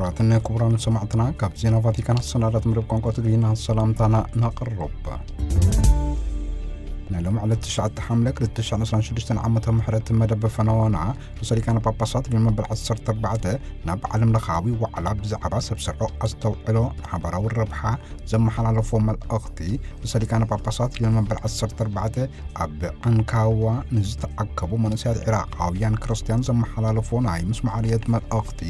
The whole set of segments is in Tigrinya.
ክቡራትን ክቡራን ሰማዕትና፣ ካብ ዜና ቫቲካን ኣሰናዳት መደብ ቋንቋ ትግርኛ ሰላምታና ነቕርብ። ናይ ሎም ዕለት ትሽዓተ ሓምለ ክልተ ሽሕን ዕስራን ሽዱሽተን ዓመተ ምሕረት መደብ ፈነወና፣ ርእሰ ሊቃነ ጳጳሳት ሊዮን መበል ዓሰርተ ኣርባዕተ ናብ ዓለም ለኻዊ ዋዕላ ብዛዕባ ሰብ ሰርሖ ኣስተውዕሎ ሓባራዊ ረብሓ ዘመሓላለፎ መልእኽቲ፣ ርእሰ ሊቃነ ጳጳሳት ሊዮን መበል ዓሰርተ ኣርባዕተ ኣብ ዓንካዋ ንዝተኣከቡ መንእሰያት ዒራቓውያን ክርስትያን ዘመሓላለፎ ናይ ምስማዕ ርየት መልእኽቲ፣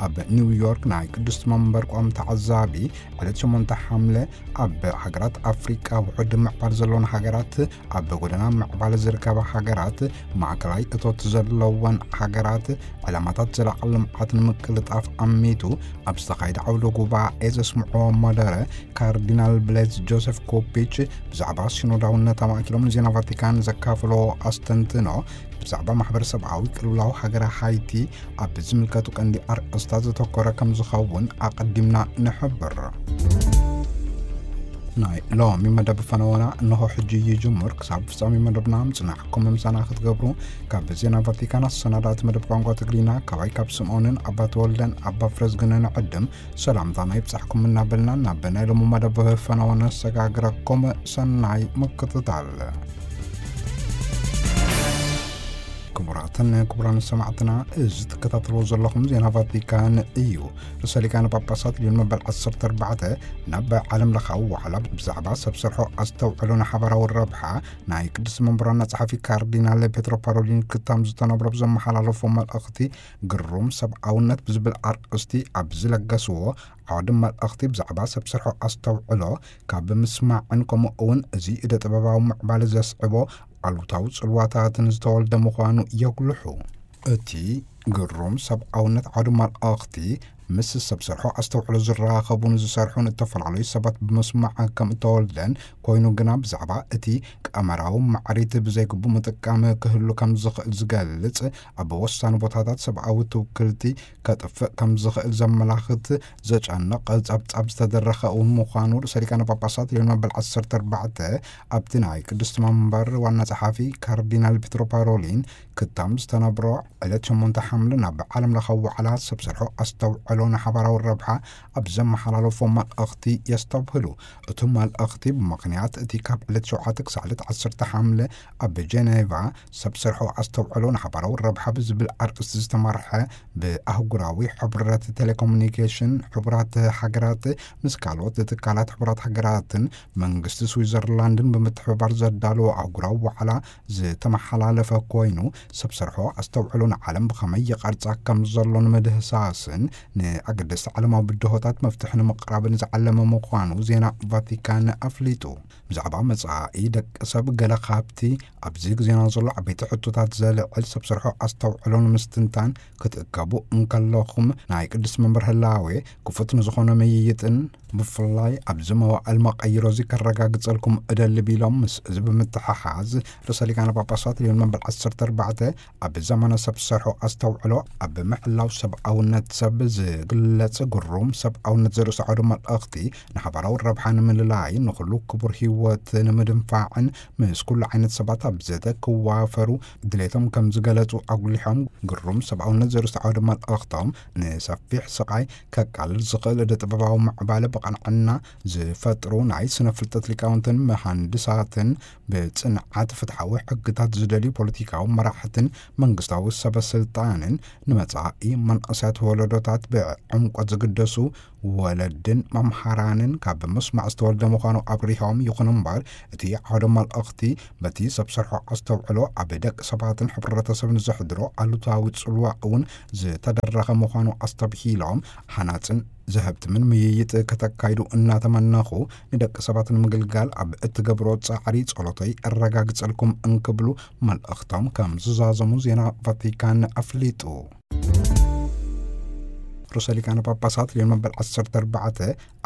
ኣብ ኒውዮርክ ናይ ቅድስቲ መንበር ቋሚ ተዓዛቢ ዕለት ሸሞንተ ሓምለ ኣብ ሃገራት ኣፍሪቃ ውሑድ ምዕባለ ዘለወን ሃገራት፣ ኣብ ጎደና ምዕባለ ዝርከባ ሃገራት፣ ማእከላይ እቶት ዘለወን ሃገራት ዕላማታት ዘላቒ ልምዓት ንምቅልጣፍ ኣሚቱ ኣብ ዝተኻየደ ዓውደ ጉባኤ ዘስምዕዎ መደረ፣ ካርዲናል ብሌዝ ጆሴፍ ኮፒች ብዛዕባ ሲኖዳውነት ኣማእኪሎም ንዜና ቫቲካን ዘካፍሎ ኣስተንትኖ፣ ብዛዕባ ማሕበረሰብኣዊ ቅልውላው ሃገረ ሃይቲ ኣብ ዝምልከቱ ቀንዲ ኣርእስታት ዘተኮረ ከም ዝኸውን ኣቐዲምና ንሕብር። ናይ ሎሚ መደብ ፈነወና እንሆ ሕጂ ይጅምር። ክሳብ ፍጻሜ መደብና ምጽናሕኩም ምሳና ክትገብሩ ካብ ዜና ቫቲካን ኣሰናዳእቲ መደብ ቋንቋ ትግርኛ ካባይ ካብ ስምዖንን ኣባ ተወልደን ኣባ ፍረዝግንን ዕድም ሰላምታና ይብጻሕኩም እናበልና ናብ ናይ ሎሚ መደብ ፈነወ ነሰጋግረኩም። ሰናይ ምክትታል። ክቡራትን ክቡራን ሰማዕትና፣ እዚ ትከታተልዎ ዘለኹም ዜና ቫቲካን እዩ። ርእሰ ሊቃነ ጳጳሳት ሊዮን መበል ዓሰርተ ኣርባዕተ ናብ ዓለም ለኻዊ ዋዕላ ብዛዕባ ሰብ ሰርሖ ኣስተውዕሎ ንሓባራዊ ረብሓ ናይ ቅድስቲ መንበር ዋና ጸሓፊ ካርዲናል ፔትሮ ፓሮሊን ክታም ዝተነብሮ ብዘመሓላለፎ መልእኽቲ፣ ግሩም ሰብኣውነት ብዝብል ኣርእስቲ ኣብ ዝለገስዎ ዓውዲ መልእኽቲ፣ ብዛዕባ ሰብ ሰርሖ ኣስተውዕሎ ካብ ምስማዕን ከምኡ እውን እዚ እደ ጥበባዊ ምዕባለ ዘስዕቦ ኣሉታዊ ጽልዋታትን ዝተወልደ ምዃኑ የጉልሑ። እቲ ግሩም ሰብኣውነት ዓውዲ መልእኽቲ፣ ምስ ሰብ ሰርሖ ኣስተውዕሎ ዝራኸቡን ዝሰርሑን እተፈላለዩ ሰባት ብምስማዕ ከም እተወልደን ኮይኑ ግና፣ ብዛዕባ እቲ ቀመራዊ ማዕሪት ብዘይግቡእ ምጥቃም ክህሉ ከም ዝኽእል ዝገልጽ፣ ኣብ ወሳኒ ቦታታት ሰብኣዊ ትውክልቲ ከጥፍእ ከም ዝኽእል ዘመላኽት ዘጨንቕ ጸብጻብ ዝተደረኸ እውን ምዃኑ ርእሰ ሊቃነ ጳጳሳት ሊዮን መበል ዓሰርተ ኣርባዕተ ኣብቲ ናይ ቅድስቲ መንበር ዋና ጸሓፊ ካርዲናል ፒትሮ ፓሮሊን ክታም ዝተነብሮ ዕለት ሸሞንተ ሓምለ ናብ ዓለም ለኻዊ ዋዕላ ሰብ ሰርሖ ኣስተውዕሎ ንሓባራዊ ረብሓ ኣብ ዘመሓላለፎ መልእኽቲ የስተብህሉ። እቲ መልእኽቲ ብምኽንያት እቲ ካብ ዕለት ሸውዓተ ክሳዕ ዕለት ዓሰርተ ሓምለ ኣብ ጀኔቫ ሰብ ሰርሖ ኣስተውዕሎ ንሓባራዊ ረብሓ ብዝብል ኣርእስቲ ዝተመርሐ ብኣህጉራዊ ሕብረት ቴሌኮሙኒኬሽን ሕቡራት ሃገራት ምስ ካልኦት ትካላት ሕቡራት ሃገራትን መንግስቲ ስዊዘርላንድን ብምትሕብባር ዘዳለዎ ኣህጉራዊ ዋዕላ ዝተመሓላለፈ ኮይኑ፣ ሰብ ሰርሖ ኣስተውዕሎ ንዓለም ብኸመይ ይቐርጻ ከም ዘሎ ንምድህሳስን ንኣገደስቲ ዓለማዊ ብድሆታት መፍትሒ ንምቕራብን ዝዓለመ ምዃኑ ዜና ቫቲካን ኣፍሊጡ። ብዛዕባ መጻኢ ደቂ ሰብ ገለ ካብቲ ኣብዚ ግዜና ዘሎ ዓበይቲ ሕቶታት ዘልዕል ሰብ ሰርሖ ኣስተውዕሎ ንምስትንታን ክትእከቡ እንከለኹም፣ ናይ ቅድስቲ መንበር ህላዌ ክፉት ንዝኾነ ምይይጥን ብፍላይ ኣብዚ መዋእል መቐይሮ እዚ ከረጋግጸልኩም እደሊ ቢሎም፣ ምስ እዚ ብምትሕሓዝ ርእሰ ሊቃነ ጳጳሳት ሊዮን መበል ዓሰርተ ኣርባዕተ ኣብ ዘመነ ሰብ ሰርሖ ኣስተውዕሎ ኣብ ምሕላው ሰብኣውነት ሰብ ዝግለጽ ግሩም ሰብኣውነት ዘርእስዖ ድማ መልእኽቲ ንሓባራዊ ረብሓ ንምልላይ ንኹሉ ክቡር ህይወት ንምድንፋዕን ምስ ኩሉ ዓይነት ሰባት ኣብ ዘተ ክዋፈሩ ድሌቶም ከም ዝገለጹ ኣጉሊሖም፣ ግሩም ሰብኣውነት ዘርእስዖ ድማ መልእኽቶም ንሰፊሕ ስቓይ ከቃልል ዝኽእል እደ ጥበባዊ ምዕባለ ብቐንዕና ዝፈጥሩ ናይ ስነ ፍልጠት ሊቃውንትን መሃንድሳትን ብጽንዓት ፍትሓዊ ሕግታት ዝደልዩ ፖለቲካዊ መራሕትን መንግስታዊ ሰበ ስልጣንን ንመጻኢ መንእሰያት ወለዶታት ብዕምቆት ዝግደሱ ወለድን መምሃራንን ካብ ምስማዕ ዝተወልደ ምዃኑ ኣብሪሆም፣ ይኹን እምበር እቲ ዓውደ መልእኽቲ በቲ ሰብ ሰርሖ ኣስተውዕሎ ኣብ ደቂ ሰባትን ሕብረተሰብን ዘሕድሮ ኣሉታዊ ጽልዋ እውን ዝተደረኸ ምዃኑ ኣስተብሂሎም፣ ሃናጽን ዘህብትምን ምይይጥ ከተካይዱ እናተመነኹ፣ ንደቂ ሰባት ንምግልጋል ኣብ እትገብሮ ጻዕሪ ጸሎተይ እረጋግጸልኩም እንክብሉ መልእኽቶም ከም ዝዛዘሙ ዜና ቫቲካን ኣፍሊጡ። ርእሰ ሊቃነ ጳጳሳት ሊዮን መበል ዓሰርተ ኣርባዕተ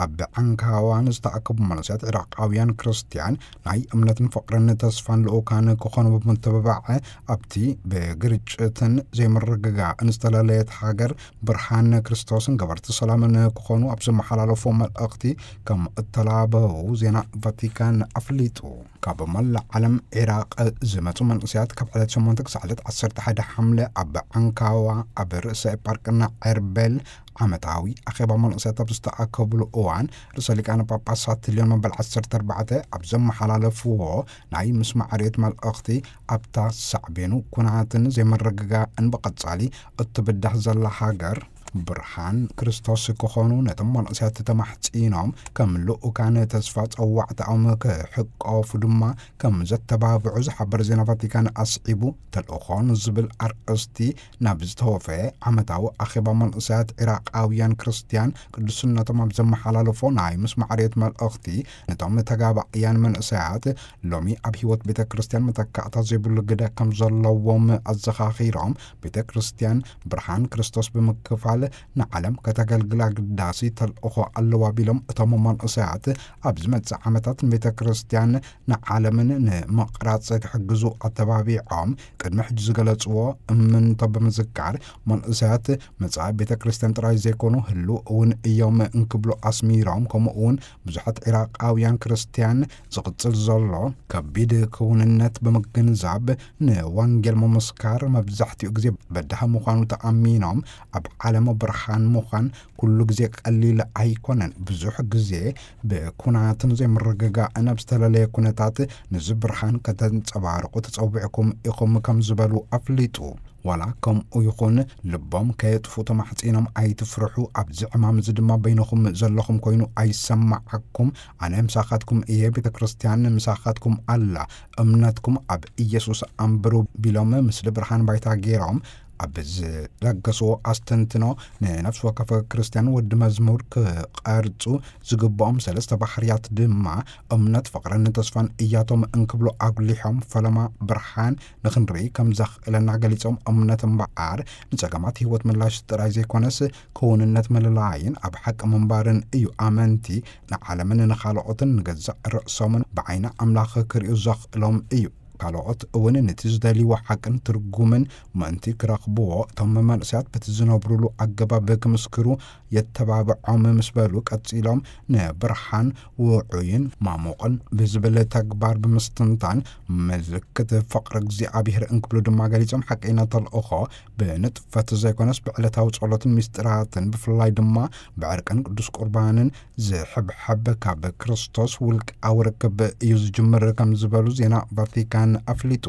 ኣብ ዓንካዋ ንዝተኣከቡ መንእሰያት ዒራቃውያን ክርስትያን ናይ እምነትን ፍቕርን ተስፋን ልኡካን ክኾኑ ብምትብባዕ፣ ኣብቲ ብግርጭትን ዘይምርግጋእን ዝተለለየት ሃገር ብርሃን ክርስቶስን ገበርቲ ሰላምን ክኾኑ ኣብ ዘመሓላለፎ መልእኽቲ ከም እተላበዉ ዜና ቫቲካን ኣፍሊጡ። ካብ መላእ ዓለም ዒራቕ ዝመጹ መንእሰያት ካብ ዕለት ሸሞንተ ክሳዕ ዕለት ዓሰርተ ሓደ ሓምለ ኣብ ዓንካዋ ኣብ ርእሰ ኤጳርቅና ዔርቤል ዓመታዊ ኣኼባ መንእሰያት ኣብ ዝተኣከብሉ እዋን፣ ርእሰ ሊቃነ ጳጳሳት ልዮን መበል ዓሰርተ ኣርባዕተ ኣብ ዘመሓላለፍዎ ናይ ምስማዕ ርዮት መልእኽቲ፣ ኣብታ ሳዕቤኑ ኩናትን ዘይምርግጋእን ብቐጻሊ እትብዳህ ዘላ ሃገር፣ ብርሃን ክርስቶስ ክኾኑ ነቶም መንእሰያት ተማሕጺኖም፣ ከም ልኡካን ተስፋ ጸዋዕታኦም ክሕቆፉ ድማ ከም ዘተባብዑ ዝሓበረ ዜና ቫቲካን ኣስዒቡ፣ ተልእኾ ንዝብል ኣርእስቲ ናብ ዝተወፈየ ዓመታዊ ኣኼባ መንእሰያት ዒራቃውያን ክርስትያን ቅዱስነቶም ኣብ ዘመሓላለፎ ናይ ምስማዕ ርዮት መልእኽቲ፣ ነቶም ተጋባእያን መንእሰያት ሎሚ ኣብ ህይወት ቤተ ክርስቲያን መተካእታ ዘይብሉ ግደ ከም ዘለዎም ኣዘኻኺሮም፣ ቤተ ክርስቲያን ብርሃን ክርስቶስ ብምክፋል ንዓለም ከተገልግላ ግዳሲ ተልእኾ ኣለዋ ቢሎም፣ እቶም መንእሰያት ኣብ ዝመጽእ ዓመታት ንቤተ ክርስቲያን ንዓለምን ንምቕራጽ ክሕግዙ ኣተባቢዖም፣ ቅድሚ ሕጂ ዝገለጽዎ እምንቶ ብምዝካር፣ መንእሰያት መጻኢ ቤተ ክርስቲያን ጥራይ ዘይኮኑ ህልው እውን እዮም እንክብሉ ኣስሚሮም፣ ከምኡ እውን ብዙሓት ዒራቃውያን ክርስቲያን ዝቕጽል ዘሎ ከቢድ ክውንነት ብምግንዛብ፣ ንወንጌል ምምስካር መብዛሕትኡ ግዜ በዳሂ ምዃኑ ተኣሚኖም፣ ኣብ ዓለም ብርሃን ምዃን ኩሉ ግዜ ቀሊል ኣይኮነን። ብዙሕ ግዜ ብኩናትን ዘይምርግጋእን ኣብ ዝተለለየ ኩነታት፣ ነዚ ብርሃን ከተንጸባርቑ ተጸዊዕኩም ኢኹም ከም ዝበሉ ኣፍሊጡ። ዋላ ከምኡ ይኹን፣ ልቦም ከየጥፉ ተማሕጺኖም፣ ኣይትፍርሑ፣ ኣብዚ ዕማም እዚ ድማ በይንኹም ዘለኹም ኮይኑ ኣይሰማዓኩም፣ ኣነ ምሳኻትኩም እየ፣ ቤተ ክርስቲያን ምሳኻትኩም ኣላ፣ እምነትኩም ኣብ ኢየሱስ ኣንብሩ ቢሎም፣ ምስሊ ብርሃን ባይታ ገይሮም ኣብ ዝለገስዎ ኣስተንትኖ፣ ንነፍሲ ወከፍ ክርስቲያን ወዲ መዝሙር ክቐርጹ ዝግብኦም ሰለስተ ባህርያት ድማ እምነት፣ ፍቕርን ተስፋን እያቶም እንክብሉ ኣጉሊሖም፣ ፈለማ ብርሃን ንኽንርኢ ከም ዘኽእለና ገሊጾም፣ እምነት እምበኣር ንጸገማት ህይወት ምላሽ ጥራይ ዘይኮነስ፣ ክውንነት ምልላይን ኣብ ሓቂ ምንባርን እዩ። ኣመንቲ ንዓለምን ንኻልኦትን ንገዛእ ርእሶምን ብዓይኒ ኣምላኽ ክርእዩ ዘኽእሎም እዩ። ካልኦት እውን ነቲ ዝደልይዎ ሓቅን ትርጉምን ምእንቲ ክረኽብዎ፣ እቶም መንእሰያት በቲ ዝነብሩሉ ኣገባብ ክምስክሩ የተባብዖም ምስ በሉ፣ ቀጺሎም ንብርሃን ውዑይን ማሙቕን ብዝብል ተግባር ብምስትንታን፣ ምልክት ፍቕሪ እግዚኣብሔር እንክብሉ ድማ ገሊጾም፣ ሓቀይና ተልእኾ ብንጥፈት ዘይኮነስ ብዕለታዊ ጸሎትን ምስጢራትን፣ ብፍላይ ድማ ብዕርቅን ቅዱስ ቁርባንን ዝሕብሐብ ካብ ክርስቶስ ውልቃዊ ርክብ እዩ ዝጅምር ከም ዝበሉ ዜና ቫቲካን ኣፍሊጡ።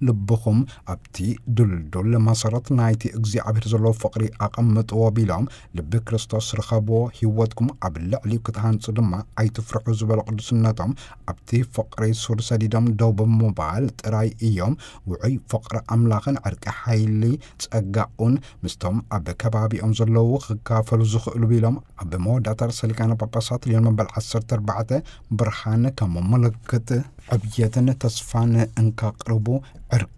ልብኹም ኣብቲ ድልዱል መሰረት ናይቲ እግዚኣብሔር ዘለዎ ፍቕሪ ኣቐምጥዎ ቢሎም፣ ልቢ ክርስቶስ ርኸብዎ፣ ህይወትኩም ኣብ ልዕሊኡ ክትሃንጹ ድማ ኣይትፍርሑ ዝበሉ ቅዱስነቶም፣ ኣብቲ ፍቕሪ ሱር ሰዲዶም ደው ብምባል ጥራይ እዮም ውዑይ ፍቕሪ ኣምላኽን ዕርቂ ሓይሊ ጸጋኡን ምስቶም ኣብ ከባቢኦም ዘለዉ ክካፈሉ ዝኽእሉ ቢሎም፣ ኣብ መወዳእታ ርእሰ ሊቃነ ጳጳሳት ልዮን መበል ዓሰርተ ኣርባዕተ ብርሃን ከም ምልክት ዕብየትን ተስፋን እንካቕርቡ፣ ዕርቂ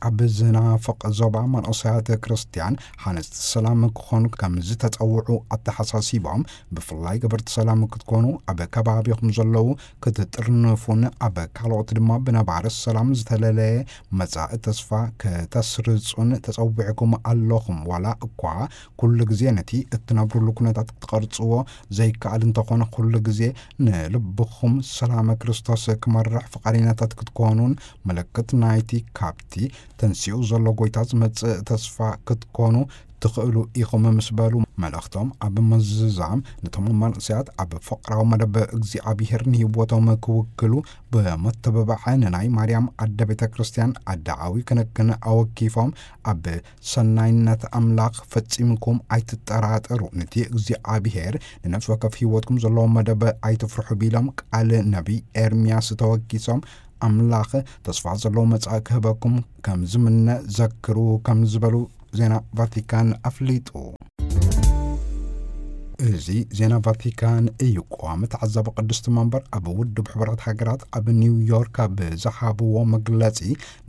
ኣብ ዝናፍቕ ዞባ መንእሰያት ክርስትያን ሃነጽቲ ሰላም ክኾኑ ከም ዝተጸውዑ ኣተሓሳሲቦም፣ ብፍላይ ገበርቲ ሰላም ክትኮኑ፣ ኣብ ከባቢኹም ዘለዉ ክትጥርንፉን ኣብ ካልኦት ድማ ብነባሪ ሰላም ዝተለለየ መጻኢ ተስፋ ከተስርጹን ተጸዊዕኩም ኣለኹም። ዋላ እኳ ኩሉ ግዜ ነቲ እትነብሩሉ ኩነታት ክትቐርጽዎ ዘይከኣል እንተኾነ፣ ኩሉ ግዜ ንልብኹም ሰላመ ክርስቶስ ክመርሕ ፍቓደኛታት ክትኮኑን፣ ምልክት ናይቲ ካብቲ ተንሲኡ ዘሎ ጎይታ ዝመጽእ ተስፋ ክትኮኑ ትኽእሉ ኢኹም ምስ በሉ፣ መልእኽቶም ኣብ ምዝዛም፣ ነቶም መንእሰያት ኣብ ፍቕራዊ መደብ እግዚኣብሔር ንህይወቶም ክውክሉ ብምትብባዕ፣ ንናይ ማርያም ኣደ ቤተ ክርስቲያን ኣደኣዊ ክንክን ኣወኪፎም፣ ኣብ ሰናይነት ኣምላኽ ፈጺምኩም ኣይትጠራጠሩ፣ ነቲ እግዚኣብሔር ንነፍሲ ወከፍ ህይወትኩም ዘለዎ መደብ ኣይትፍርሑ ቢሎም፣ ቃል ነቢይ ኤርምያስ ተወኪሶም፣ ኣምላኽ ተስፋ ዘለዎ መጻኢ ክህበኩም ከም ዝምነ ዘክሩ ከም ዝበሉ ዜና ቫቲካን ኣፍሊጡ። እዚ ዜና ቫቲካን እዩ። ቀዋሚ ተዓዛቢ ቅድስቲ መንበር ኣብ ውድብ ሕቡራት ሃገራት ኣብ ኒውዮርክ ኣብ ዝሃብዎ መግለጺ፣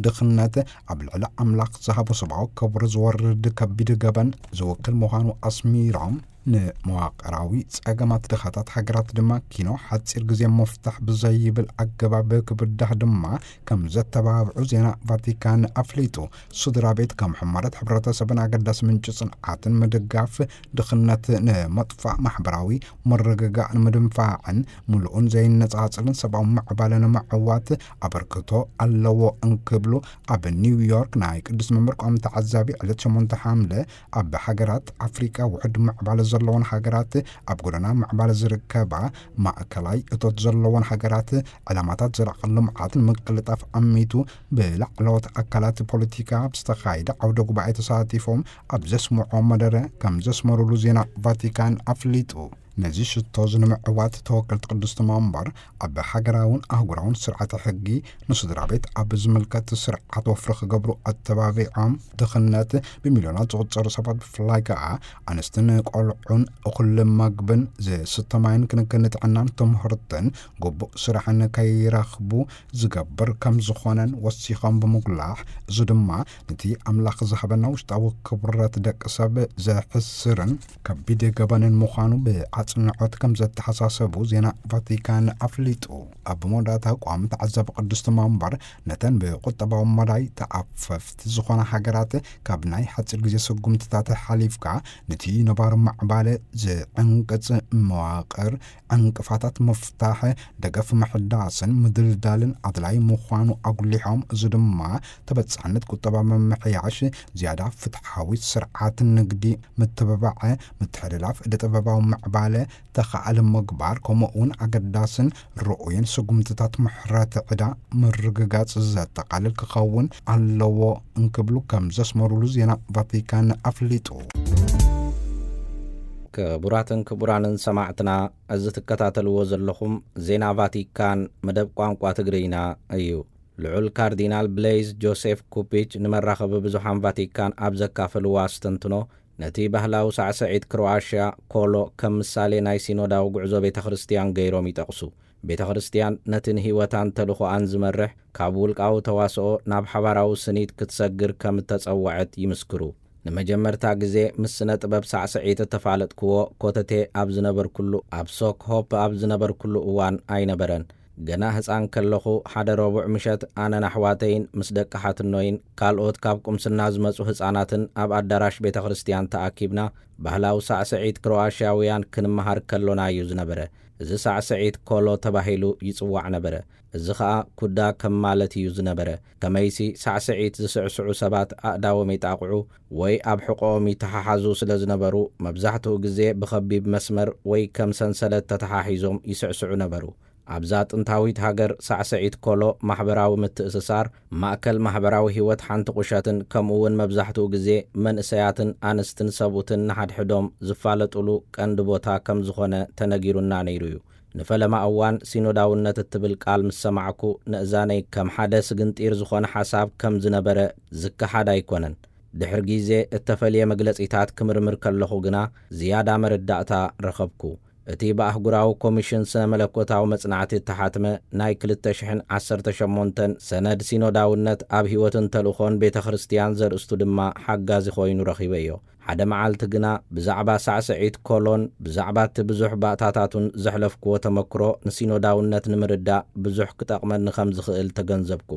ድኽነት ኣብ ልዕሊ ኣምላኽ ዝሃቦ ሰብኣዊ ክብሪ ዝወርድ ከቢድ ገበን ዝውክል ምዃኑ ኣስሚሮም፣ ንመዋቕራዊ ጸገማት ድኻታት ሃገራት ድማ ኪኖ ሓጺር ግዜ መፍታሕ ብዘይብል ኣገባብ ክብዳህ ድማ ከም ዘተባብዑ ዜና ቫቲካን ኣፍሊጡ። ስድራ ቤት ከም ሕማረት ሕብረተሰብን ኣገዳሲ ምንጪ ጽንዓትን ምድጋፍ፣ ድኽነት ንምጥፋእ፣ ማሕበራዊ ምርግጋእ ንምድንፋዕን ምሉእን ዘይነጻጽልን ሰብኣዊ ምዕባለ ንምዕዋት ኣበርክቶ ኣለዎ እንክብሉ ኣብ ኒውዮርክ ናይ ቅዱስ መምህር ቋሚ ተዓዛቢ ዕለት ሸሞንተ ሓምለ ኣብ ሃገራት ኣፍሪቃ ውሕድ ምዕባለ ዘለዎን ሃገራት ኣብ ጎደና ምዕባለ ዝርከባ ማእከላይ እቶት ዘለዎን ሃገራት ዕላማታት ዘላቒ ልምዓት ንምቅልጣፍ ኣሚቱ ብላዕለዎት ኣካላት ፖለቲካ ኣብ ዝተኻየደ ዓውደ ጉባኤ ተሳቲፎም ኣብ ዘስምዖ መደረ ከም ዘስመሩሉ ዜና ቫቲካን ኣፍሊጡ። ነዚ ሽቶ እዚ ንምዕዋት ተወከልቲ ቅዱስ መንበር ኣብ ሃገራውን ኣህጉራውን ስርዓተ ሕጊ ንስድራ ቤት ኣብ ዝምልከት ስርዓት ወፍሪ ክገብሩ ኣተባቢዖም፣ ድኽነት ብሚልዮናት ዝቑጸሩ ሰባት ብፍላይ ከኣ ኣንስትን ቆልዑን እኹል መግብን ዝስተ ማይን ክንክን ጥዕናን ትምህርትን ግቡእ ስራሕን ከይረኽቡ ዝገብር ከም ዝኾነን ወሲኾም ብምጉላሕ፣ እዚ ድማ ነቲ ኣምላኽ ዝሃበና ውሽጣዊ ክብረት ደቂ ሰብ ዘሕስርን ከቢድ ገበንን ምዃኑ ብኣጽንዖት ከም ዘተሓሳሰቡ ዜና ቫቲካን ኣፍሊጡ። ኣብ መወዳእታ ቋሚ ተዓዛቢ ቅዱስ መንበር ነተን ብቁጠባዊ መዳይ ተኣፈፍቲ ዝኾና ሃገራት ካብ ናይ ሓጺር ግዜ ስጉምትታት ሓሊፍካ ነቲ ነባሪ ምዕባለ ዝዕንቅጽ መዋቕር ዕንቅፋታት ምፍታሕ፣ ደገፍ ምሕዳስን ምድልዳልን ኣድላይ ምዃኑ ኣጉሊሖም፣ እዚ ድማ ተበጻሕነት ቁጠባ ምምሕያሽ፣ ዝያዳ ፍትሓዊ ስርዓት ንግዲ ምትብባዕ፣ ምትሕልላፍ እደ ጥበባዊ ምዕባለ ተኻኣሊ ምግባር፣ ከምኡ እውን ኣገዳስን ርኡይን ስጉምትታት ምሕረት ዕዳ ምርግጋጽ ዘጠቓልል ክኸውን ኣለዎ እንክብሉ ከም ዘስመሩሉ ዜና ቫቲካን ኣፍሊጡ። ክቡራትን ክቡራንን ሰማዕትና፣ እዚ ትከታተልዎ ዘለኹም ዜና ቫቲካን መደብ ቋንቋ ትግርኛ እዩ። ልዑል ካርዲናል ብሌይዝ ጆሴፍ ኩፒች ንመራኸቢ ብዙሓን ቫቲካን ኣብ ዘካፈልዎ ኣስተንትኖ፣ ነቲ ባህላዊ ሳዕስዒት ክሮኣሽያ ኮሎ ከም ምሳሌ ናይ ሲኖዳዊ ጉዕዞ ቤተ ክርስቲያን ገይሮም ይጠቕሱ። ቤተ ክርስቲያን ነቲ ንህይወታን ተልእኾኣን ዝመርሕ ካብ ውልቃዊ ተዋስኦ ናብ ሓባራዊ ስኒት ክትሰግር ከም እተጸውዐት ይምስክሩ። ንመጀመርታ ግዜ ምስ ስነ ጥበብ ሳዕስዒት እተፋለጥክዎ ኮተቴ ኣብ ዝነበርኩሉ፣ ኣብ ሶክ ሆፕ ኣብ ዝነበርኩሉ እዋን ኣይነበረን። ገና ህጻን ከለኹ ሓደ ረቡዕ ምሸት ኣነን ኣሕዋተይን ምስ ደቂ ሓትኖይን ካልኦት ካብ ቁምስና ዝመጹ ህጻናትን ኣብ ኣዳራሽ ቤተ ክርስቲያን ተኣኪብና ባህላዊ ሳዕስዒት ክሮኣሽያውያን ክንመሃር ከሎና እዩ ዝነበረ። እዚ ሳዕስዒት ኮሎ ተባሂሉ ይጽዋዕ ነበረ። እዚ ኸኣ ኩዳ ከም ማለት እዩ ዝነበረ። ከመይሲ ሳዕስዒት ዝስዕስዑ ሰባት ኣእዳዎም ይጣቕዑ ወይ ኣብ ሕቖኦም ይተሓሓዙ ስለ ዝነበሩ፣ መብዛሕትኡ ግዜ ብኸቢብ መስመር ወይ ከም ሰንሰለት ተተሓሒዞም ይስዕስዑ ነበሩ። ኣብዛ ጥንታዊት ሃገር ሳዕስዒት ኮሎ ማሕበራዊ ምትእስሳር፣ ማእከል ማሕበራዊ ህይወት ሓንቲ ቁሸትን ከምኡ እውን መብዛሕትኡ ግዜ መንእሰያትን ኣንስትን ሰብኡትን ንሓድሕዶም ዝፋለጡሉ ቀንዲ ቦታ ከም ዝኾነ ተነጊሩና ነይሩ እዩ። ንፈለማ እዋን ሲኖዳውነት እትብል ቃል ምስ ሰማዕኩ፣ ንእዛነይ ከም ሓደ ስግንጢር ዝኾነ ሓሳብ ከም ዝነበረ ዝከሓድ ኣይኮነን። ድሕሪ ግዜ እተፈልየ መግለጺታት ክምርምር ከለኹ ግና ዝያዳ መረዳእታ ረኸብኩ። እቲ ብኣህጉራዊ ኮሚሽን ስነ መለኮታዊ መጽናዕቲ እተሓትመ ናይ ክልተ ሽሕን ዓሰርተ ሸሞንተን ሰነድ ሲኖዳውነት ኣብ ህይወትን ተልእኾን ቤተ ክርስቲያን ዘርእስቱ ድማ ሓጋዚ ኮይኑ ረኺበዮ። ሓደ መዓልቲ ግና ብዛዕባ ሳዕስዒት ኮሎን ብዛዕባ እቲ ብዙሕ ባእታታቱን ዘሕለፍክዎ ተመክሮ ንሲኖዳውነት ንምርዳእ ብዙሕ ክጠቕመኒ ከም ዝኽእል ተገንዘብኩ።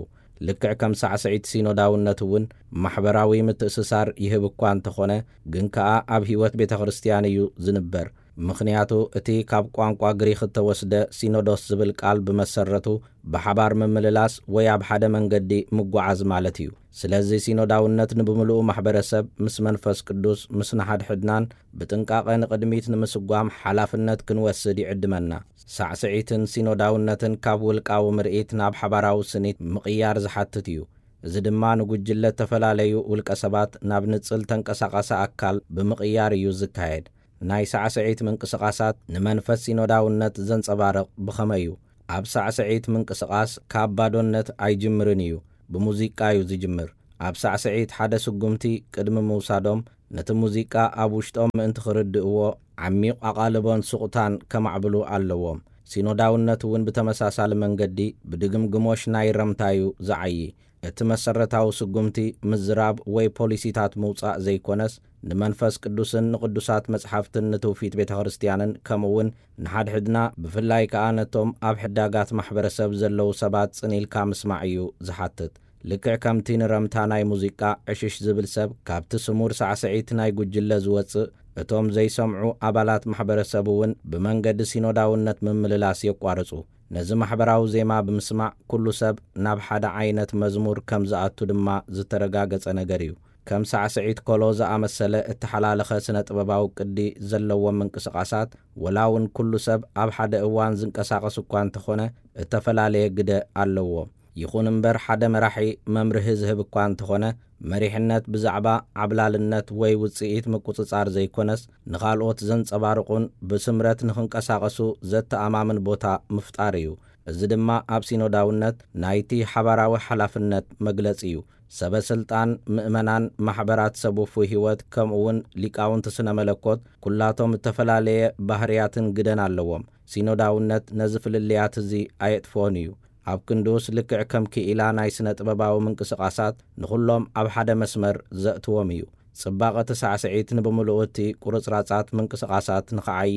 ልክዕ ከም ሳዕስዒት ሲኖዳውነት እውን ማሕበራዊ ምትእስሳር ይህብ እኳ እንተኾነ፣ ግን ከኣ ኣብ ህይወት ቤተ ክርስቲያን እዩ ዝንበር። ምኽንያቱ እቲ ካብ ቋንቋ ግሪኽ እተወስደ ሲኖዶስ ዝብል ቃል ብመሰረቱ ብሓባር ምምልላስ ወይ ኣብ ሓደ መንገዲ ምጓዓዝ ማለት እዩ። ስለዚ ሲኖዳውነት ንብምሉኡ ማሕበረሰብ ምስ መንፈስ ቅዱስ ምስ ንሓድሕድናን ብጥንቃቐ ንቕድሚት ንምስጓም ሓላፍነት ክንወስድ ይዕድመና። ሳዕስዒትን ሲኖዳውነትን ካብ ውልቃዊ ምርኢት ናብ ሓባራዊ ስኒት ምቕያር ዝሓትት እዩ። እዚ ድማ ንጉጅለ እተፈላለዩ ውልቀ ሰባት ናብ ንጽል ተንቀሳቓሲ ኣካል ብምቕያር እዩ ዝካየድ። ናይ ሳዕስዒት ምንቅስቓሳት ንመንፈስ ሲኖዳውነት ዘንጸባርቕ ብኸመይ እዩ? ኣብ ሳዕስዒት ምንቅስቓስ ካብ ባዶነት ኣይጅምርን እዩ፣ ብሙዚቃ እዩ ዝጅምር። ኣብ ሳዕስዒት ሓደ ስጉምቲ ቅድሚ ምውሳዶም፣ ነቲ ሙዚቃ ኣብ ውሽጦም ምእንቲ ክርድእዎ፣ ዓሚቕ ኣቓልቦን ሱቕታን ከማዕብሉ ኣለዎም። ሲኖዳውነት እውን ብተመሳሳሊ መንገዲ ብድግምግሞሽ ናይ ረምታ እዩ ዝዓዪ። እቲ መሰረታዊ ስጉምቲ ምዝራብ ወይ ፖሊሲታት ምውጻእ ዘይኮነስ፣ ንመንፈስ ቅዱስን ንቕዱሳት መጽሓፍትን ንትውፊት ቤተ ክርስቲያንን ከምኡ እውን ንሓድሕድና ብፍላይ ከኣ ነቶም ኣብ ሕዳጋት ማሕበረሰብ ዘለዉ ሰባት ጽን ኢልካ ምስማዕ እዩ ዝሓትት። ልክዕ ከምቲ ንረምታ ናይ ሙዚቃ ዕሽሽ ዝብል ሰብ ካብቲ ስሙር ሳዕስዒት ናይ ጉጅለ ዝወጽእ፣ እቶም ዘይሰምዑ ኣባላት ማሕበረሰብ እውን ብመንገዲ ሲኖዳውነት ምምልላስ የቋርጹ። ነዚ ማሕበራዊ ዜማ ብምስማዕ ኩሉ ሰብ ናብ ሓደ ዓይነት መዝሙር ከም ዝኣቱ ድማ ዝተረጋገጸ ነገር እዩ። ከም ሳዕስዒት ኮሎ ዝኣመሰለ እተሓላለኸ ስነ ጥበባዊ ቅዲ ዘለዎም ምንቅስቓሳት፣ ወላ እውን ኩሉ ሰብ ኣብ ሓደ እዋን ዝንቀሳቐስ እኳ እንተኾነ፣ እተፈላለየ ግደ ኣለዎም። ይኹን እምበር፣ ሓደ መራሒ መምርሒ ዝህብ እኳ እንተኾነ፣ መሪሕነት ብዛዕባ ዓብላልነት ወይ ውጽኢት ምቁጽጻር ዘይኮነስ፣ ንኻልኦት ዘንጸባርቑን ብስምረት ንኽንቀሳቐሱ ዘተኣማምን ቦታ ምፍጣር እዩ። እዚ ድማ ኣብ ሲኖዳውነት ናይቲ ሓባራዊ ሓላፍነት መግለጺ እዩ። ሰበ ስልጣን፣ ምእመናን፣ ማሕበራት ሰብ ውፉይ ህይወት፣ ከምኡ እውን ሊቃውንቲ ስነ መለኮት፣ ኩላቶም እተፈላለየ ባህርያትን ግደን ኣለዎም። ሲኖዳውነት ነዚ ፍልልያት እዚ ኣየጥፍኦን እዩ። ኣብ ክንድኡስ፣ ልክዕ ከም ክኢላ ናይ ስነ ጥበባዊ ምንቅስቓሳት፣ ንኹሎም ኣብ ሓደ መስመር ዘእትዎም እዩ። ጽባቐ እቲ ሳዕስዒት ንብምሉኡ እቲ ቁርጽራጻት ምንቅስቓሳት ንኽዓዪ፣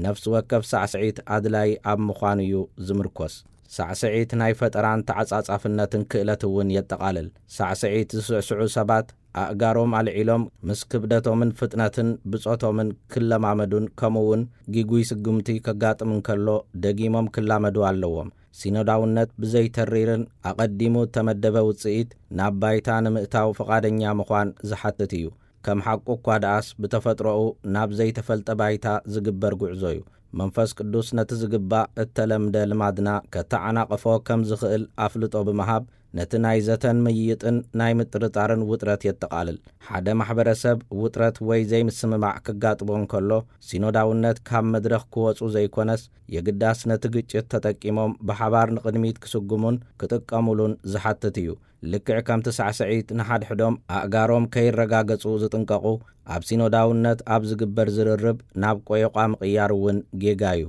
ነፍሲ ወከፍ ሳዕስዒት ኣድላዪ ኣብ ምዃኑ እዩ ዝምርኮስ። ሳዕስዒት ናይ ፈጠራን ተዓጻጻፍነትን ክእለት እውን የጠቓልል። ሳዕስዒት ዝስዕስዑ ሰባት፣ ኣእጋሮም ኣልዒሎም ምስ ክብደቶምን ፍጥነትን ብጾቶምን ክለማመዱን፣ ከምኡ እውን ጊጉይ ስጉምቲ ከጋጥም እንከሎ ደጊሞም ክላመዱ ኣለዎም። ሲኖዳውነት ብዘይተሪርን ኣቐዲሙ እተመደበ ውጽኢት ናብ ባይታ ንምእታው ፍቓደኛ ምዃን ዝሓትት እዩ። ከም ሓቁ እኳ ደኣስ፣ ብተፈጥሮኡ ናብ ዘይተፈልጠ ባይታ ዝግበር ጉዕዞ እዩ። መንፈስ ቅዱስ ነቲ ዝግባእ እተለምደ ልማድና ከተዓናቕፎ ከም ዝኽእል ኣፍልጦ ብምሃብ፣ ነቲ ናይ ዘተን ምይይጥን ናይ ምጥርጣርን ውጥረት የጠቓልል። ሓደ ማሕበረሰብ ውጥረት ወይ ዘይምስምማዕ ክጋጥሞ እንከሎ፣ ሲኖዳውነት ካብ መድረኽ ክወጹ ዘይኮነስ፣ የግዳስ ነቲ ግጭት ተጠቂሞም ብሓባር ንቕድሚት ክስጉሙን ክጥቀሙሉን ዝሓትት እዩ። ልክዕ ከምቲ ሳዕስዒት ንሓድሕዶም ኣእጋሮም ከይረጋገጹ ዝጥንቀቑ፣ ኣብ ሲኖዳውነት ኣብ ዝግበር ዝርርብ ናብ ቆየቋ ምቕያር እውን ጌጋ እዩ።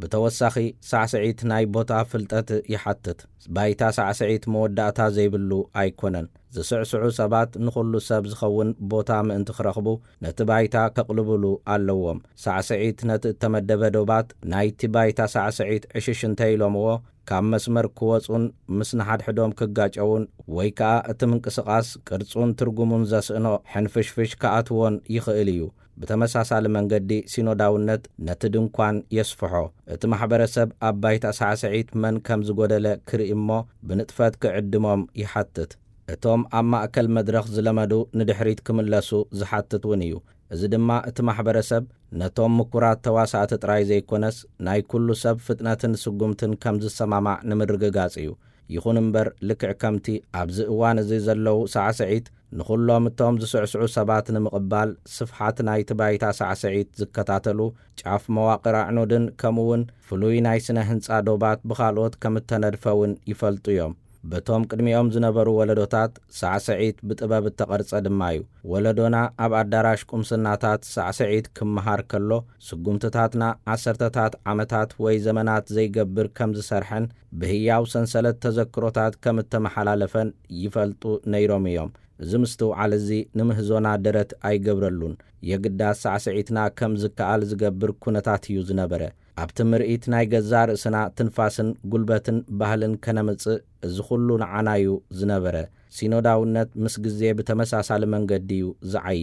ብተወሳኺ፣ ሳዕስዒት ናይ ቦታ ፍልጠት ይሓትት። ባይታ ሳዕስዒት መወዳእታ ዘይብሉ ኣይኮነን። ዝስዕስዑ ሰባት ንኹሉ ሰብ ዝኸውን ቦታ ምእንቲ ክረኽቡ፣ ነቲ ባይታ ከቕልብሉ ኣለዎም። ሳዕስዒት ነቲ እተመደበ ዶባት ናይቲ ባይታ ሳዕስዒት ዕሽሽ እንተ ኢሎምዎ፣ ካብ መስመር ክወጹን ምስ ንሓድሕዶም ክጋጨውን፣ ወይ ከኣ እቲ ምንቅስቓስ ቅርጹን ትርጉሙን ዘስእኖ ሕንፍሽፍሽ ክኣትዎን ይኽእል እዩ። ብተመሳሳሊ መንገዲ፣ ሲኖዳውነት ነቲ ድንኳን የስፍሖ። እቲ ማሕበረሰብ ኣብ ባይታ ሳዕስዒት መን ከም ዝጎደለ ክርኢ እሞ፣ ብንጥፈት ክዕድሞም ይሓትት። እቶም ኣብ ማእከል መድረኽ ዝለመዱ ንድሕሪት ክምለሱ ዝሓትት እውን እዩ። እዚ ድማ እቲ ማሕበረሰብ ነቶም ምኩራት ተዋሳእቲ ጥራይ ዘይኮነስ፣ ናይ ኩሉ ሰብ ፍጥነትን ስጉምትን ከም ዝሰማማዕ ንምርግጋጽ እዩ። ይኹን እምበር፣ ልክዕ ከምቲ ኣብዚ እዋን እዚ ዘለዉ ሳዕስዒት ንኹሎም እቶም ዝስዕስዑ ሰባት ንምቕባል ስፍሓት ናይቲ ባይታ ሳዕስዒት ዝከታተሉ፣ ጫፍ መዋቕር ኣዕኑድን ከምኡውን ፍሉይ ናይ ስነ ህንጻ ዶባት ብኻልኦት ከም እተነድፈ እውን ይፈልጡ እዮም። በቶም ቅድሚኦም ዝነበሩ ወለዶታት ሳዕስዒት ብጥበብ እተቐርጸ ድማ እዩ። ወለዶና ኣብ ኣዳራሽ ቁምስናታት ሳዕስዒት ክመሃር ከሎ፣ ስጉምትታትና ዓሰርተታት ዓመታት ወይ ዘመናት ዘይገብር ከም ዝሰርሐን ብህያው ሰንሰለት ተዘክሮታት ከም እተመሓላለፈን ይፈልጡ ነይሮም እዮም። እዚ ምስትውዓል እዚ ንምህዞና ደረት ኣይገብረሉን። የግዳስ ሳዕስዒትና ከም ዝከኣል ዝገብር ኩነታት እዩ ዝነበረ። ኣብቲ ምርኢት ናይ ገዛእ ርእስና ትንፋስን ጉልበትን ባህልን ከነምጽእ፣ እዚ ኩሉ ንዓና እዩ ዝነበረ። ሲኖዳውነት ምስ ግዜ ብተመሳሳሊ መንገዲ እዩ ዝዓዪ።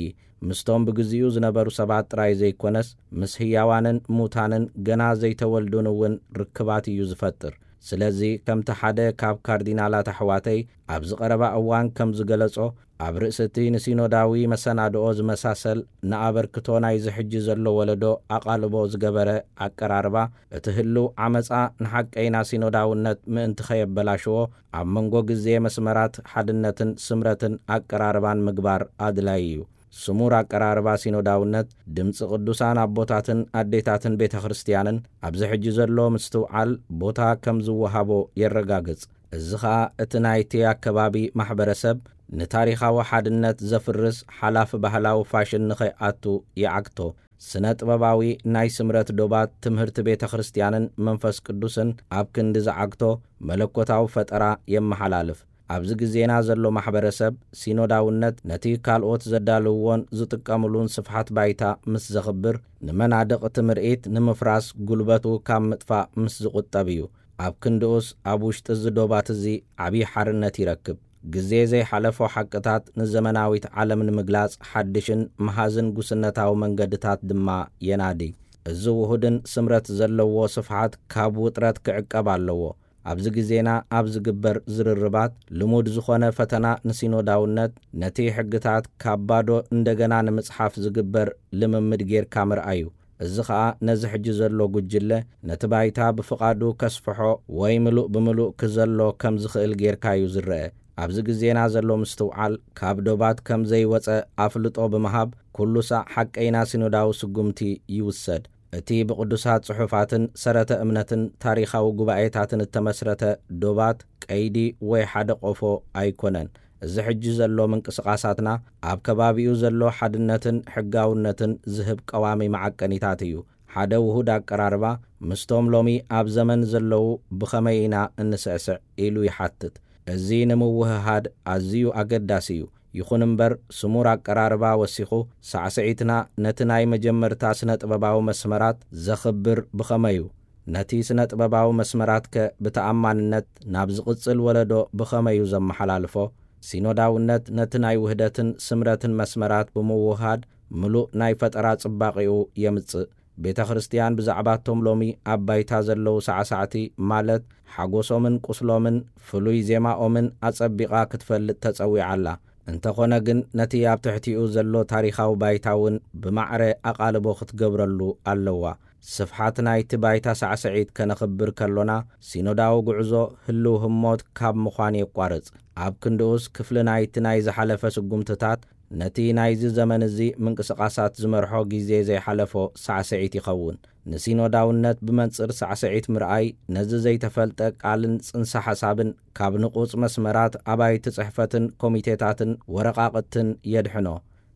ምስቶም ብግዚኡ ዝነበሩ ሰባት ጥራይ ዘይኮነስ፣ ምስ ህያዋንን ሙታንን ገና ዘይተወልዱን እውን ርክባት እዩ ዝፈጥር። ስለዚ፣ ከምቲ ሓደ ካብ ካርዲናላት ኣሕዋተይ ኣብዚ ቀረባ እዋን ከም ዝገለጾ፣ ኣብ ርእሲ እቲ ንሲኖዳዊ መሰናድኦ ዝመሳሰል ንኣበርክቶ ናይዚ ሕጂ ዘሎ ወለዶ ኣቓልቦ ዝገበረ ኣቀራርባ፣ እቲ ህሉው ዓመጻ ንሓቀይና ሲኖዳውነት ምእንቲ ኸየበላሽዎ፣ ኣብ መንጎ ግዜ መስመራት ሓድነትን ስምረትን ኣቀራርባን ምግባር ኣድላዪ እዩ። ስሙር ኣቀራርባ ሲኖዳውነት፣ ድምጺ ቅዱሳን ኣቦታትን ኣዴታትን ቤተ ክርስቲያንን፣ ኣብዚ ሕጂ ዘሎ ምስትውዓል ቦታ ከም ዝወሃቦ የረጋግጽ። እዚ ኸኣ እቲ ናይቲ ኣከባቢ ማሕበረሰብ ንታሪኻዊ ሓድነት ዘፍርስ ሓላፊ ባህላዊ ፋሽን ንኸይኣቱ ይዓግቶ። ስነ ጥበባዊ ናይ ስምረት ዶባት ትምህርቲ ቤተ ክርስቲያንን መንፈስ ቅዱስን ኣብ ክንዲ ዝዓግቶ፣ መለኮታዊ ፈጠራ የመሓላልፍ። ኣብዚ ግዜና ዘሎ ማሕበረሰብ ሲኖዳውነት ነቲ ካልኦት ዘዳልውዎን ዝጥቀምሉን ስፍሓት ባይታ ምስ ዘኽብር፣ ንመናድቕ እቲ ምርኢት ንምፍራስ ጉልበቱ ካብ ምጥፋእ ምስ ዝቑጠብ እዩ። ኣብ ክንድኡስ ኣብ ውሽጢ እዚ ዶባት እዚ ዓብዪ ሓርነት ይረክብ። ግዜ ዘይሓለፎ ሓቅታት ንዘመናዊት ዓለም ንምግላጽ ሓድሽን መሃዝን ጉስነታዊ መንገድታት ድማ የናዲ። እዚ ውሁድን ስምረት ዘለዎ ስፍሓት ካብ ውጥረት ክዕቀብ ኣለዎ። ኣብዚ ግዜና ኣብ ዝግበር ዝርርባት ልሙድ ዝኾነ ፈተና ንሲኖዳውነት ነቲ ሕግታት ካብ ባዶ እንደገና ንምጽሓፍ ዝግበር ልምምድ ጌርካ ምርኣዩ። እዚ ኸኣ ነዚ ሕጂ ዘሎ ጉጅለ ነቲ ባይታ ብፍቓዱ ከስፍሖ ወይ ምሉእ ብምሉእ ክዘሎ ከም ዝኽእል ጌርካ እዩ ዝረአ። ኣብዚ ግዜና ዘሎ ምስትውዓል ካብ ዶባት ከም ዘይወጸ ኣፍልጦ ብምሃብ ኩሉ ሳዕ ሓቀይና ሲኖዳዊ ስጉምቲ ይውሰድ። እቲ ብቕዱሳት ጽሑፋትን ሰረተ እምነትን ታሪኻዊ ጉባኤታትን እተመስረተ ዶባት ቀይዲ ወይ ሓደ ቆፎ ኣይኮነን። እዚ ሕጂ ዘሎ ምንቅስቓሳትና ኣብ ከባቢኡ ዘሎ ሓድነትን ሕጋውነትን ዝህብ ቀዋሚ መዓቀኒታት እዩ። ሓደ ውሁድ ኣቀራርባ ምስቶም ሎሚ ኣብ ዘመን ዘለዉ ብኸመይ ኢና እንስዕስዕ ኢሉ ይሓትት። እዚ ንምውህሃድ ኣዝዩ ኣገዳሲ እዩ። ይኹን እምበር ስሙር ኣቀራርባ ወሲኹ ሳዕስዒትና ነቲ ናይ መጀመርታ ስነ ጥበባዊ መስመራት ዘኽብር ብኸመይ እዩ? ነቲ ስነ ጥበባዊ መስመራትከ ብተኣማንነት ናብ ዝቕጽል ወለዶ ብኸመይ እዩ ዘመሓላልፎ? ሲኖዳውነት ነቲ ናይ ውህደትን ስምረትን መስመራት ብምውህሃድ ምሉእ ናይ ፈጠራ ጽባቐኡ የምጽእ። ቤተ ክርስቲያን ብዛዕባቶም ሎሚ ኣብ ባይታ ዘለዉ ሳዕሳዕቲ ማለት ሓጎሶምን ቁስሎምን ፍሉይ ዜማኦምን ኣጸቢቓ ክትፈልጥ ተጸዊዓ ኣላ። እንተኾነ ግን ነቲ ኣብ ትሕቲኡ ዘሎ ታሪኻዊ ባይታ እውን ብማዕረ ኣቓልቦ ክትገብረሉ ኣለዋ። ስፍሓት ናይቲ ባይታ ሳዕስዒት ከነኽብር ከሎና ሲኖዳዊ ጉዕዞ ህልው ህሞት ካብ ምዃን የቋርጽ። ኣብ ክንድኡስ ክፍሊ ናይቲ ናይ ዝሓለፈ ስጉምትታት ነቲ ናይዚ ዘመን እዚ ምንቅስቓሳት ዝመርሖ ግዜ ዘይሓለፎ ሳዕስዒት ይኸውን። ንሲኖዳውነት ብመንጽር ሳዕስዒት ምርኣይ ነዚ ዘይተፈልጠ ቃልን ጽንሰ ሓሳብን ካብ ንቑጽ መስመራት ኣባይቲ ጽሕፈትን ኮሚቴታትን ወረቓቕትን የድሕኖ።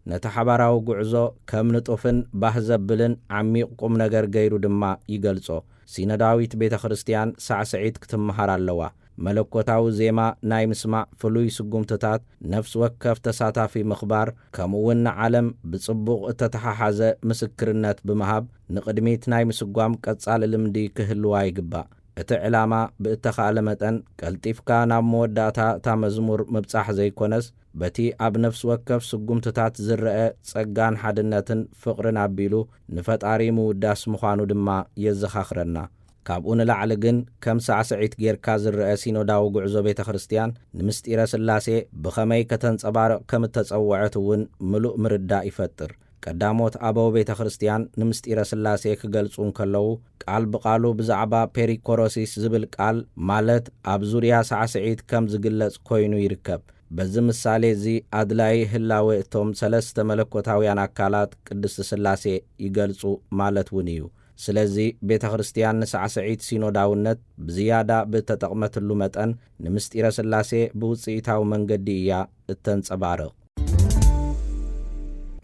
ነቲ ሓባራዊ ጉዕዞ ከም ንጡፍን ባህ ዘብልን ዓሚቕ ቁም ነገር ገይሩ ድማ ይገልጾ። ሲኖዳዊት ቤተ ክርስቲያን ሳዕስዒት ክትመሃር ኣለዋ። መለኮታዊ ዜማ ናይ ምስማዕ ፍሉይ ስጉምትታት ነፍሲ ወከፍ ተሳታፊ ምኽባር፣ ከምኡውን ንዓለም ብጽቡቕ እተተሓሓዘ ምስክርነት ብምሃብ ንቕድሚት ናይ ምስጓም ቀጻሊ ልምዲ ክህልዋ ይግባእ። እቲ ዕላማ ብእተኻእለ መጠን ቀልጢፍካ ናብ መወዳእታ እታ መዝሙር ምብጻሕ ዘይኮነስ፣ በቲ ኣብ ነፍሲ ወከፍ ስጉምትታት ዝረአ ጸጋን ሓድነትን ፍቕርን ኣቢሉ ንፈጣሪ ምውዳስ ምዃኑ ድማ የዘኻኽረና። ካብኡ ንላዕሊ ግን ከም ሳዕስዒት ጌርካ ዝረአ ሲኖዳዊ ጉዕዞ ቤተ ክርስቲያን ንምስጢረ ሥላሴ ብኸመይ ከተንጸባርቕ ከም እተጸውዐት እውን ምሉእ ምርዳእ ይፈጥር። ቀዳሞት ኣበው ቤተ ክርስቲያን ንምስጢረ ሥላሴ ክገልጹ እንከለዉ ቃል ብቓሉ ብዛዕባ ፔሪኮሮሲስ ዝብል ቃል ማለት ኣብ ዙርያ ሳዕስዒት ከም ዝግለጽ ኮይኑ ይርከብ። በዚ ምሳሌ እዚ ኣድላዪ ህላዌ እቶም ሰለስተ መለኮታውያን ኣካላት ቅድስቲ ሥላሴ ይገልጹ ማለት እውን እዩ። ስለዚ ቤተ ክርስቲያን ንሳዕስዒት ሲኖዳውነት ብዝያዳ ብእተጠቕመትሉ መጠን ንምስጢረ ሥላሴ ብውጽኢታዊ መንገዲ እያ እተንጸባርቕ።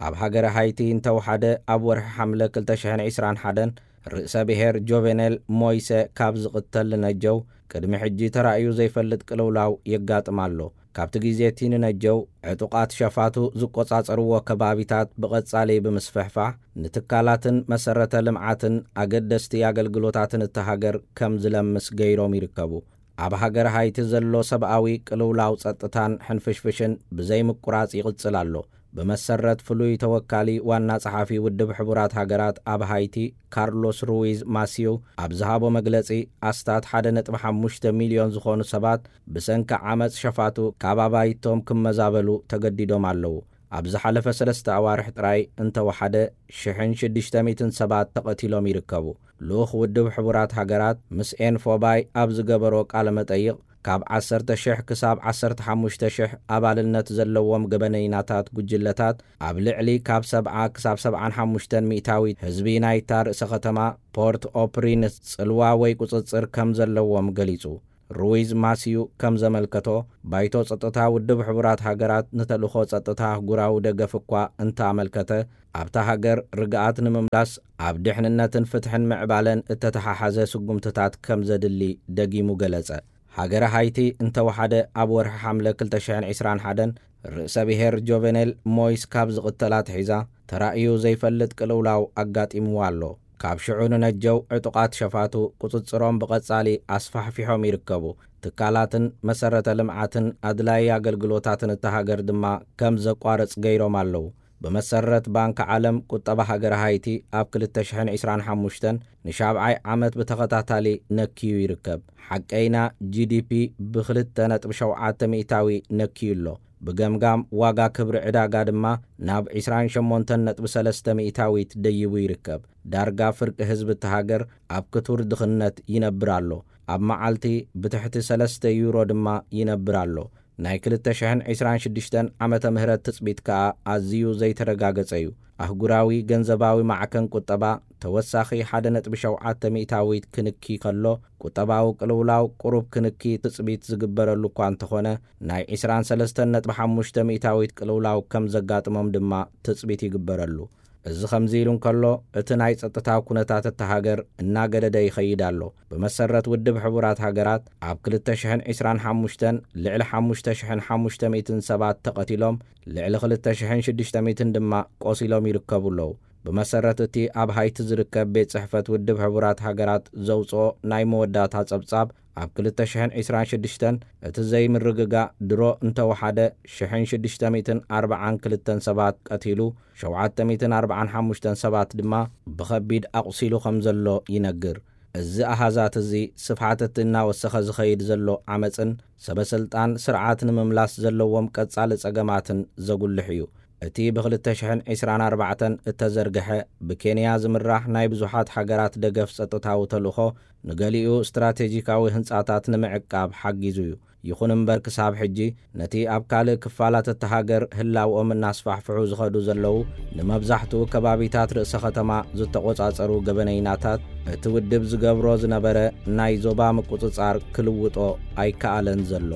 ኣብ ሃገረ ሃይቲ እንተወሓደ ኣብ ወርሒ ሓምለ ክልተ ሽሕን ዕስራን ሓደን ርእሰ ብሔር ጆቬኔል ሞይሰ ካብ ዝቕተል ንነጀው ቅድሚ ሕጂ ተራእዩ ዘይፈልጥ ቅልውላው የጋጥም ኣሎ። ካብቲ ግዜ እቲ ንነጀው ዕጡቓት ሸፋቱ ዝቆጻጸርዎ ከባቢታት ብቐጻሊ ብምስፍሕፋሕ ንትካላትን መሰረተ ልምዓትን ኣገደስቲ ኣገልግሎታትን እታ ሃገር ከም ዝለምስ ገይሮም ይርከቡ። ኣብ ሃገር ሃይቲ ዘሎ ሰብኣዊ ቅልውላው ጸጥታን ሕንፍሽፍሽን ብዘይምቁራጽ ይቕጽል ኣሎ። ብመሰረት ፍሉይ ተወካሊ ዋና ጸሓፊ ውድብ ሕቡራት ሃገራት ኣብ ሃይቲ ካርሎስ ሩዊዝ ማሲዩ ኣብ ዝሃቦ መግለጺ፣ ኣስታት ሓደ ነጥቢ ሓሙሽተ ሚልዮን ዝኾኑ ሰባት ብሰንኪ ዓመጽ ሸፋቱ ካብ ኣባይቶም ክመዛበሉ ተገዲዶም ኣለዉ። ኣብ ዝሓለፈ ሰለስተ ኣዋርሕ ጥራይ እንተወሓደ ሽሕን ሽዱሽተ ሚእትን ሰባት ተቐቲሎም ይርከቡ። ልኡኽ ውድብ ሕቡራት ሃገራት ምስ ኤንፎባይ ኣብ ዝገበሮ ቃለ መጠይቕ፣ ካብ ዓሰርተ ሽሕ ክሳብ ዓሰርተ ሓሙሽተ ሽሕ ኣባልነት ዘለዎም ገበነይናታት ጉጅለታት ኣብ ልዕሊ ካብ ሰብዓ ክሳብ ሰብዓን ሓሙሽተን ሚእታዊት ህዝቢ ናይታ ርእሰ ከተማ ፖርት ኦ ፕሪንስ ጽልዋ ወይ ቁጽጽር ከም ዘለዎም ገሊጹ። ሩዊዝ ማሲዩ ከም ዘመልከቶ፣ ባይቶ ጸጥታ ውድብ ሕቡራት ሃገራት ንተልእኾ ጸጥታ ኣህጉራዊ ደገፍ እኳ እንተኣመልከተ፣ ኣብታ ሃገር ርግኣት ንምምላስ ኣብ ድሕንነትን ፍትሕን ምዕባለን እተተሓሓዘ ስጉምትታት ከም ዘድሊ ደጊሙ ገለጸ። ሃገረ ሃይቲ እንተወሓደ ኣብ ወርሒ ሓምለ ክልተ ሽሕን ዕስራን ሓደን ርእሰ ብሔር ጆቨኔል ሞይስ ካብ ዝቕተል ኣትሒዛ ተራእዩ ዘይፈልጥ ቅልውላው ኣጋጢምዋ ኣሎ። ካብ ሽዑ ንነጀው ዕጡቓት ሸፋቱ ቁጽጽሮም ብቐጻሊ ኣስፋሕፊሖም ይርከቡ። ትካላትን መሰረተ ልምዓትን ኣድላዪ ኣገልግሎታትን እታ ሃገር ድማ ከም ዘቋርጽ ገይሮም ኣለዉ። ብመሰረት ባንክ ዓለም ቁጠባ ሃገረ ሃይቲ ኣብ ክልተ ሽሕን ዕስራን ሓሙሽተን ንሻብዓይ ዓመት ብተኸታታሊ ነክዩ ይርከብ። ሓቀይና ጂ ዲ ፒ ብክልተ ነጥቢ ሸውዓተ ሚእታዊ ነክዩ ኣሎ። ብገምጋም ዋጋ ክብሪ ዕዳጋ ድማ ናብ ዕስራን ሸሞንተን ነጥቢ ሰለስተ ሚእታዊት ደይቡ ይርከብ። ዳርጋ ፍርቂ ህዝቢ እቲ ሃገር ኣብ ክቱር ድኽነት ይነብር ኣሎ። ኣብ መዓልቲ ብትሕቲ ሰለስተ ዩሮ ድማ ይነብር ኣሎ። ናይ ክልተ ሽሕን ዕስራን ሽዱሽተን ዓመተ ምህረት ትጽቢት ከኣ ኣዝዩ ዘይተረጋገጸ እዩ። ኣህጉራዊ ገንዘባዊ ማዕከን ቁጠባ ተወሳኺ ሓደ ነጥቢ ሸውዓተ ሚእታዊት ክንኪ ከሎ፣ ቁጠባዊ ቅልውላው ቁሩብ ክንኪ ትጽቢት ዝግበረሉ እኳ እንተኾነ፣ ናይ ዕስራን ሰለስተን ነጥቢ ሓሙሽተ ሚእታዊት ቅልውላው ከም ዘጋጥሞም ድማ ትጽቢት ይግበረሉ። እዚ ከምዚ ኢሉ እንከሎ፣ እቲ ናይ ጸጥታ ኩነታት እታ ሃገር እናገደደ ይኸይድ ኣሎ። ብመሰረት ውድብ ሕቡራት ሃገራት፣ ኣብ ክልተ ሽሕን ዕስራን ሓሙሽተን ልዕሊ ሓሙሽተ ሽሕን ሓሙሽተ ሚእትን ሰባት ተቐቲሎም፣ ልዕሊ ክልተ ሽሕን ሽዱሽተ ሚእትን ድማ ቆሲሎም ይርከቡ ኣለዉ። ብመሰረት እቲ ኣብ ሃይቲ ዝርከብ ቤት ጽሕፈት ውድብ ሕቡራት ሃገራት ዘውጽኦ ናይ መወዳእታ ጸብጻብ፣ ኣብ ክልተ ሽሕን ዕስራን ሽዱሽተን እቲ ዘይምርግጋእ ድሮ እንተወሓደ ሽሕን ሽዱሽተ ሚእትን ኣርባዓን ክልተን ሰባት ቀቲሉ፣ ሸውዓተ ሚእትን ኣርባዓን ሓሙሽተን ሰባት ድማ ብኸቢድ ኣቑሲሉ ከም ዘሎ ይነግር። እዚ ኣሃዛት እዚ ስፍሓት እቲ እናወሰኸ ዝኸይድ ዘሎ ዓመጽን ሰበ ስልጣን ስርዓት ንምምላስ ዘለዎም ቀጻሊ ጸገማትን ዘጉልሕ እዩ። እቲ ብ ክልተ ሽሕን ዕስራን ኣርባዕተን እተዘርግሐ ብኬንያ ዝምራሕ ናይ ብዙሓት ሃገራት ደገፍ ጸጥታዊ ተልእኾ ንገሊኡ ስትራቴጂካዊ ህንጻታት ንምዕቃብ ሓጊዙ እዩ። ይኹን እምበር ክሳብ ሕጂ ነቲ ኣብ ካልእ ክፋላት እታ ሃገር ህላውኦም እናስፋሕፍሑ ዝኸዱ ዘለዉ ንመብዛሕትኡ ከባቢታት ርእሰ ከተማ ዝተቖጻጸሩ ገበነይናታት እቲ ውድብ ዝገብሮ ዝነበረ ናይ ዞባ ምቁጽጻር ክልውጦ ኣይከኣለን ዘሎ።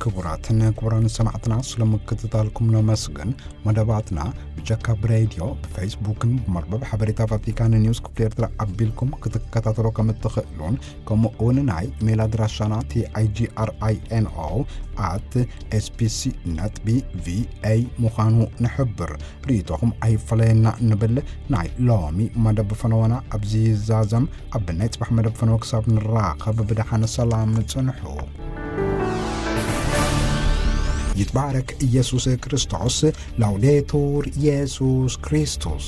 ክቡራትን ክቡራን ሰማዕትና፣ ስለ ምክትታልኩም ነመስግን። መደባትና ብጀካ ብሬድዮ፣ ብፌስቡክን ብመርበብ ሓበሬታ ቫቲካን ኒውስ ክፍሊ ኤርትራ ኣቢልኩም ክትከታተሎ ከም እትኽእሉን፣ ከምኡ እውን ናይ ኢሜይል ኣድራሻና ቲ ኣይ ጂ ኣር ኣይ ኤን ኦ ኣት ኤስ ቢ ሲ ነጥቢ ቪ ኤ ምዃኑ ንሕብር። ርእይቶኹም ኣይፈለየና ንብል። ናይ ሎሚ መደብ ፈነወና ኣብዚ ይዛዘም። ኣብ ናይ ጽባሕ መደብ ፈነወ ክሳብ ንራኸብ ብደሓን ሰላም ጽንሑ። ይትባረክ ኢየሱስ ክርስቶስ። ላውዴቱር ኢየሱስ ክርስቶስ።